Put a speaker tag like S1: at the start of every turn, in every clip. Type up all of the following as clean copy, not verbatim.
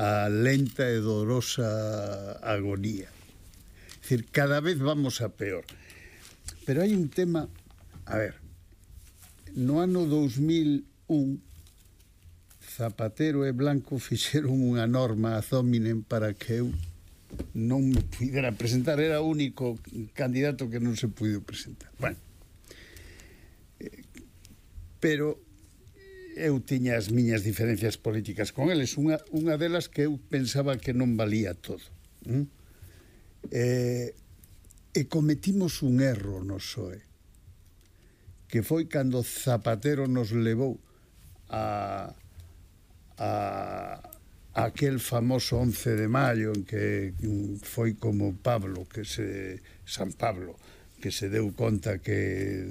S1: a lenta e dolorosa agonía. É dicir, cada vez vamos a peor. Pero hai un tema, a ver, no ano 2001 Zapatero e Blanco fixeron unha norma ad hominem para que eu non me pudera presentar. Era o único candidato que non se puido presentar. Bueno, pero eu tiña as miñas diferencias políticas con eles. Unha delas que eu pensaba que non valía todo. E cometimos un erro no PSOE, que foi cando Zapatero nos levou a aquel famoso 11 de maio en que foi como San Pablo, que se deu conta que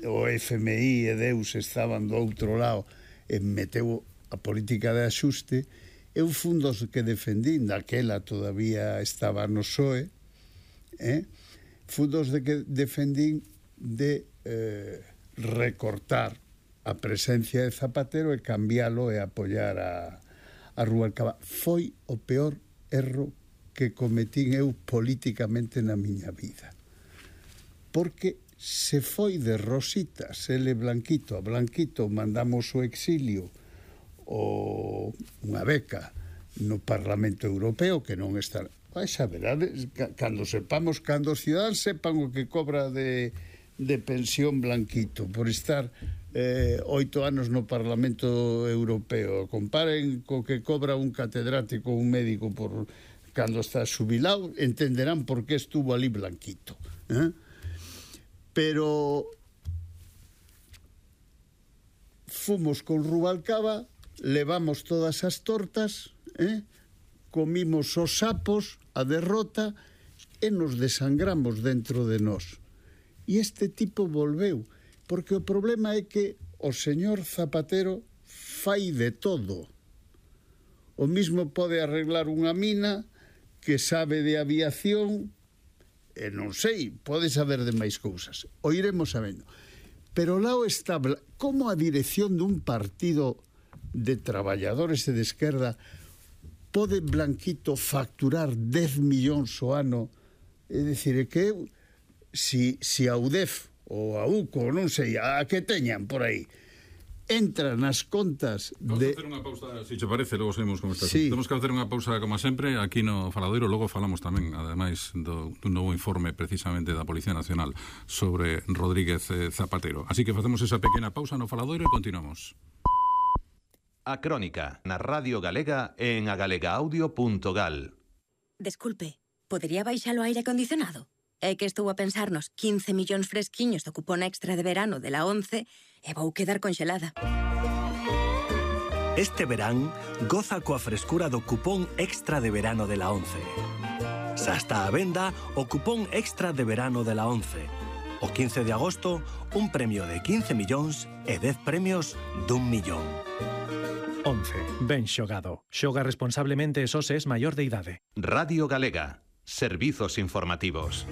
S1: o FMI e Deus estaban do outro lado e meteu a política de axuste. Eu fun dos que defendín, daquela todavía estaba no PSOE, fun dos de que defendín de recortar a presencia de Zapatero e cambiálo e apoiar a Rubalcaba. Foi o peor erro que cometín eu políticamente na miña vida, porque se foi de rositas ele Blanquito. A Blanquito mandamos o exilio ou unha beca no Parlamento Europeo, que non está... Xa verades, cando sepamos, cando os ciudadanos sepan o que cobra de pensión Blanquito por estar 8 anos no Parlamento Europeo, comparen co que cobra un catedrático, un médico por cando está xubilado, entenderán por que estuvo ali Blanquito. Pero fomos con Rubalcaba, levamos todas as tortas, comimos os sapos, a derrota, e nos desangramos dentro de nós. E este tipo volveu, porque o problema é que o señor Zapatero fai de todo. O mismo pode arreglar unha mina, que sabe de aviación, e non sei, pode saber de máis cousas. O iremos sabendo. Pero lá está, como a dirección dun partido de traballadores e de esquerda pode Blanquito facturar 10 millóns o ano? É dicir, é que si a UDEF ou a UCO, non sei, a que teñan por aí, entra nas contas de...
S2: Vamos a facer unha pausa, se te parece, logo seguimos con esta. Sí. Temos que facer unha pausa, como sempre, aquí no Faladoiro. Logo falamos tamén, ademais, dun novo informe precisamente da Policía Nacional sobre Rodríguez Zapatero. Así que facemos esa pequena pausa no Faladoiro e continuamos.
S3: A Crónica, na Radio Galega e en agalegaaudio.gal.
S4: Desculpe, podería baixalo aire acondicionado? É que estou a pensarnos 15 millóns fresquiños do cupón extra de verano de la 11 e vou quedar conxelada.
S5: Este verán, goza coa frescura do cupón extra de verano de la 11. Xa está a venda o cupón extra de verano de la 11. O 15 de agosto, un premio de 15 millóns e 10 premios d'1 millón.
S6: 11. Ben xogado. Xoga responsablemente e só se es maior de idade.
S3: Radio Galega. Servizos informativos.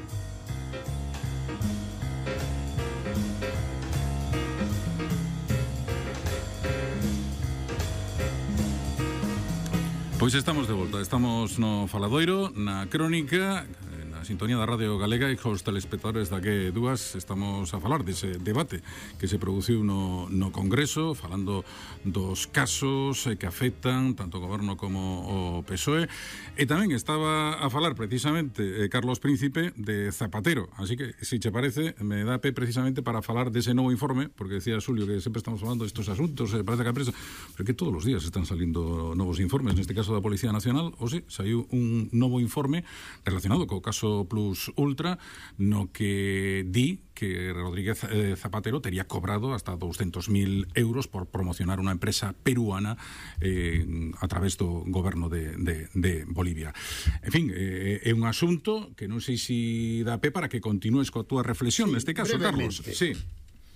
S2: Pois estamos de volta, estamos no Faladoiro, na Crónica, na sintonía da Radio Galega, e cos telespectadores da que estamos a falar dese debate que se produciu no Congreso, falando dos casos que afectan tanto o Goberno como o PSOE, e tamén estaba a falar precisamente Carlos Príncipe de Zapatero, así que, se che parece, me dá pé precisamente para falar dese novo informe, porque decía Xulio que sempre estamos falando destes asuntos, parece que a prensa, pero que todos os días están salindo novos informes, neste caso da Policía Nacional. Hoxe saiu un novo informe relacionado co caso Plus Ultra, no que di que Rodríguez Zapatero tería cobrado hasta 200.000 euros por promocionar unha empresa peruana a través do goberno de Bolivia. En fin, é un asunto que non sei se dá pé para que continúes coa túa reflexión, neste caso, Carlos. Sí.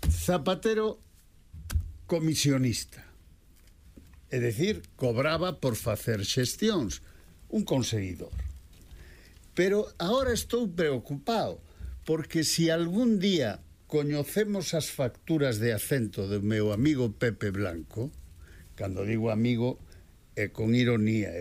S1: Zapatero, comisionista. É dicir, cobraba por facer xestións. Un conseguidor. Pero agora estou preocupado, porque se algún día coñecemos as facturas de acento do meu amigo Pepe Blanco, cando digo amigo é con ironía,